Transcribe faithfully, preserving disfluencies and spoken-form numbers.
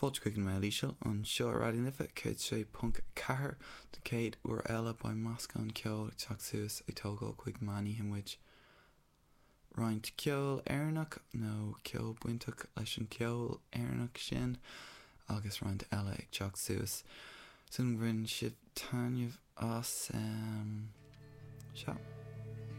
Fáilte chuig an Meitheal Íseal anseo ar Raidió na Life céad sé ponc ceathair don chéad uair eile beidh meascán ceoil ag teacht suas ag tógáil chuig meánoíche muid. Roinnt ceol Éireannach nó ceol bainteach leis an ceol Éireannach sin agus roinnt eile ag teacht suas. Sin bhain sibh taitneamh as um, seo.